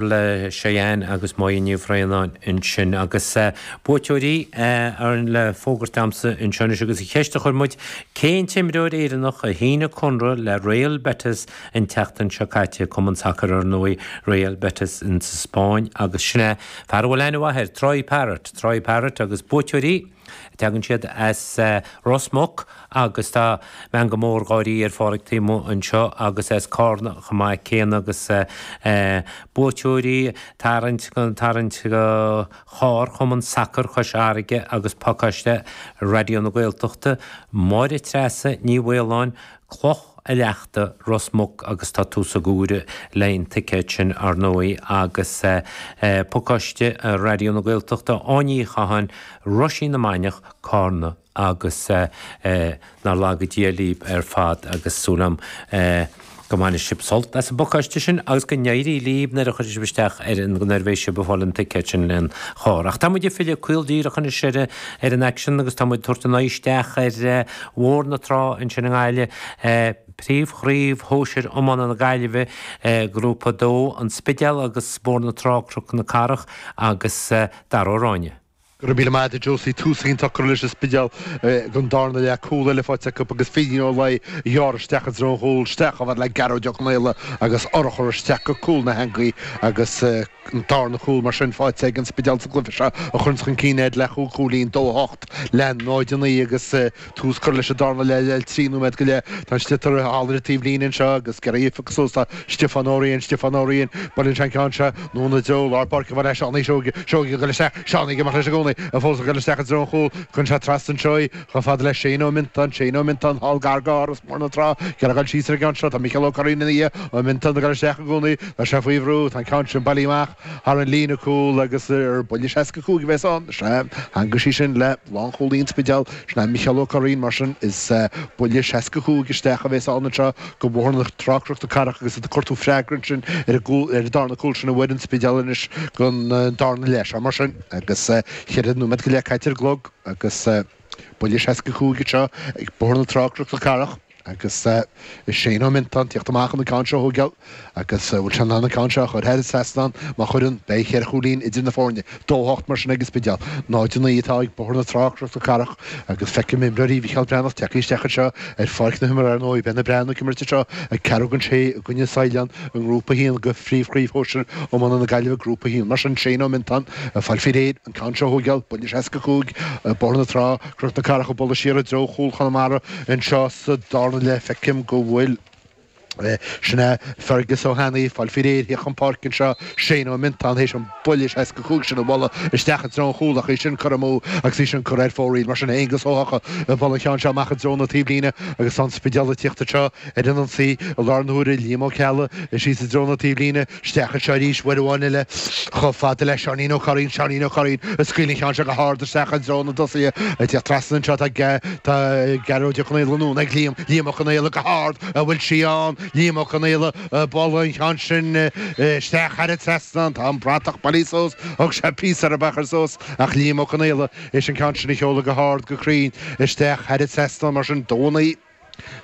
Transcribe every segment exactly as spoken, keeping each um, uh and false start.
Le Cheyenne agus Máire Ní Bhraonáin ansin agus buaiteoirí ar le fógairt agamsa anseo anois agus an cheist a chuir muid, cén t-imreoir Éireannach a shínigh conradh le Real Betis an tseachtain seo caite, cumann sacair ar ndóigh Real Betis in sa Spáinn agus sin é fear a bhfuil aithne mhaith air, Troy Parrott, Troy Parrott agus buaiteoirí Tagann siad as Ros Muc agus tá meangadh mór gáirí ar Pháraic taobh amuigh anseo agus as Cárna chomh maith céanna agus buaiteoirí tarraingt tarraingt go charr Chumann Sacair Chois Fharraige agus pacáiste Raidió na Gaeltachta, Máire Treasa Ní Mhaoláin, Cloch a' Leachta, Ros Muc agus tá tús ag uaire le an ticéad sin ar ndóigh agus pacáiste Raidió na Gaeltachta, Áine Uí Chatháin, Roisín na Mainiach, Cárna agus nár laga Dia libh ar fad agus súil agam go mbainfidh sibh sult as an bpacáiste sin agus go n-éirí libh nuair a chuirfidh sibh isteach ar an nuair a bheidh sibh ag fáil an ticéad sin len charr. Ach tá muid ag filleadh caol díreach anois ar ar an aicsean agus tá muid ag tabhairt an aghaidh isteach ar Bhóthar na Trá ansin i nGaillimh, Príomhchraobh Shóisir Iomána na Gaillimhe, Grúpa a dó, An Spidéal agus Bóthar na Trá, Cnoc na Cathrach agus Dara Ó Ráinne. Go raibh míle maith agat a Josie. Tús iontach curtha leis an Spidéal don darna leath. Cúl eile faighte acu agus Fínín Ó Laoi a ghearr isteach i dtreo an chúil, isteach chomh fada le Gearóid Ó Conaola agus urchar isteach go cúl na heangaí agus an darna cúl mar sin faighte ag an Spidéal sa gcluiche seo a chuireanns chun cinn iad le chúig chúilín, dó a hocht le náid a naoi agus tús curtha leis an darna leath le trí nóiméad go leith. Tá an sliotar thall ar an taobh líne anseo agus ag iarraidh é a phiocadh suas tá Stiofán Ó Riain, Stiofán Ó Riain, buaileann sé an ceann seo anonn i dtreo lár páirce chomh fada le Seánie Seoige, Seoige ag dul isteach, Seánie ag imeacht leis i gcónaí, fós ag dul isteach i dtreo an chúil, cuireann sé trasna anseo í, chomh fada le Shane Ó Miontáin, Shane Ó Miontáin, thall gar do Áras Bhóthar na Trá, ag iarraidh dul síos ar an gceann seo, tá Micheál Ó Curraoin ina dhiaidh, Ó Miontáin ag dul isteach i gcónaí, tá sé faoi bhrú, tá an ceann sin bailithe amach thar an líne cúil agus ar buille seasca cúig a bheas ann, sea, theangaigh sí sin le lánchúlaí an Spidéil, sin é Micheál Ó Curraoin, mar sin is buille seasca cúig isteach a bheas ann anseo go Bóthar na Trá Cnoc na Cathrach agus iad ag cuartú freagra ansin ar an gcúl, ar an darna cúl sin a fuair an Spidéal anois don darna leath seo mar sin agus cheithre nóiméad go leith caite ar an gclog agus buille seasca cúig anseo ag Bóthar na Trá Cnoc na Cathrach agus Shane Ó Miontáin ag tíocht amach chun an ceann seo a thógáil agus bhfuil sé in ann an ceann seo a chur thar an trasnán má chuireann beidh cheithre chúilín idir na foirne. Dó a hocht mar sin ag an Spidéal. Náid a naoi atá ag Bóthar na Trá Cnoc na Cathrach agus feicim imreoirí Mhicheál Breathnach tagtha isteach anseo ar pháirc na himeartha ar ndóigh. Beidh na Breathnaigh ag imirt anseo ag ceathrú don sé i gcoinne Saighleán i nGrúpa a haon de Phríomhchraobh Shóisir Iomána na Gaillimhe, Grúpa a haon. Mar sin, Shane Ó Miontáin ag fáil faoi réir an ceann seo a thógáil, buille seasca cúig, Bóthar na Trá, Cnoc na Cathrach ag bualadh siar i dtreo chúl Chonamara anseo sa darna leath. Feicim go bhfuil. Sin é Fergus Ó hAnnaidh ag fáil faoi réir thíocht chun páirce anseo, Shane Ó Miontáin théis an buille seasca cúig sin a bhualadh isteach i dtreo an chúil ach í sin curtha amú agus í sin curtha ar fóraoil. Mar sin Aonghus Ó hEochaidh ag bualadh an cheann seo amach i dtreo na taobhlíne agus tá an Spidéal ag tíocht anseo ar an ionsaí i lár na huaire, Liam Ó Ceallaigh síos i dtreo na taobhlíne, isteach anseo arís uair amháin eile chomh fada le Seáinín Ó Curraoin, Seáinín Ó Curraoin ag scaoileadh an cheann seo go hard isteach i dtreo na dtosaithe ag tíocht trasna anseo tá tá Gearóid Ó Conaola anonn ag Liam, Liam Ó Conaola go hard, an bhfuil sí ann? Liam Ó Conaola ag bualadh an cheann sin isteach thar an trasnán, tá an bratach bailithe suas, thug sé píosa orthu a chur suas ach Liam Ó Conaola théis an ceann sin a sheoladh go hard go cruinn isteach thar an trasnán mar sin dó a naoi.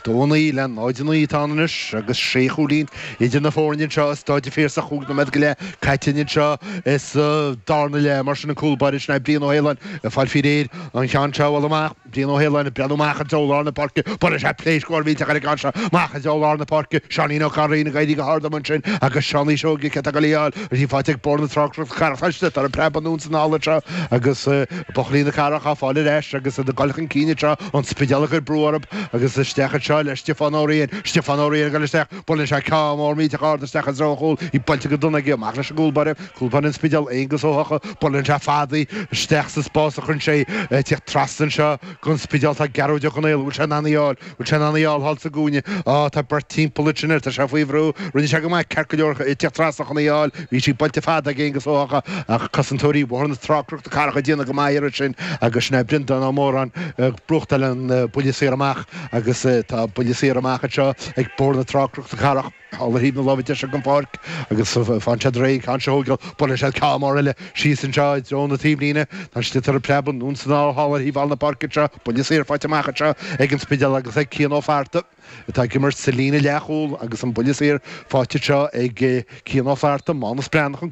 Dó a naoi le náid a naoi atá ann anois agus sé chúilín idir na foirne anseo i Stáid an Phiarsaigh chúig nóiméad go leith caite anseo sa darna leath. Mar sin an cúl báire sin é Brian Ó hAoláin ag fáil faoi réir an ceann seo a bhualadh amach. Brian Ó hAoláin ag breathnú amach i dtreo lár na páirce. Buaileann sé pléasc mhór mhillteach ar an gceann seo amach i dtreo lár na páirce. Seáinín Ó Curraoin ag éirí go hard amuigh ansin agus Seánie Seoige cé atá ag dul í a fháil. Í faighte ag Bóthar na Trá Cnoc na Cathrach. Tá sliotar ag preabadh anonn is anall anseo agus buachaillí na Cathrach á fáil ar ais agus iad ag dul chun cinn anseo. An Spidéal ag cur brú orthu agus isteach anseo le Stiofán Ó Riain. Stiofán Ó Riain ag dul isteach. Buaileann sé ceann mór millteach ard isteach i dtreo an chúil. Í buailte go dona aige. Amach leis an gcúl báire. Cúl báire an Spidéil, Aonghus Ó hEochaidh. Buaileann sé fada í isteach sa spás a chuireann sé í. Ag tíocht trasna anseo don Spidéal tá Gearóid Ó Conaola. Bhfuil sé in ann í a fháil? Bhfuil sé in ann í a fháil thall sa gcúinne? Á, tá beirt timpeall ansin air. Tá sé faoi bhrú. Rinne sé go maith, ceart go leor, ag tíocht trasna chun í a fháil. Bhí sí buailte fada ag Aonghus Ó hEochaidh ach cosantóirí Bhóthar na Trá Cnoc na Cathrach ag déanamh go maith air ansin agus sin é Breandán Ó Móráin ag brúchtáil an buille saor amach agus tá buille saor amach anseo ag Bóthar na Trá Cnoc na Cathrach. Thall ar thaobh na láimhe deise den pháirc agus faigheann siad réidh an ceann seo a thógáil. Buaileann siad ceann mór eile síos anseo i dtreo na taobhlíne. Tá siad ag tabhairt preab anonn is anall thall ar thaobh thall na páirce anseo. Buille saor faighte amach anseo ag an Spidéal agus ag Cian Ó Flatharta atá ag imirt sa líne leathchúl agus an buille saor faighte anseo ag Cian Ó Flatharta. Mánus Breathnach an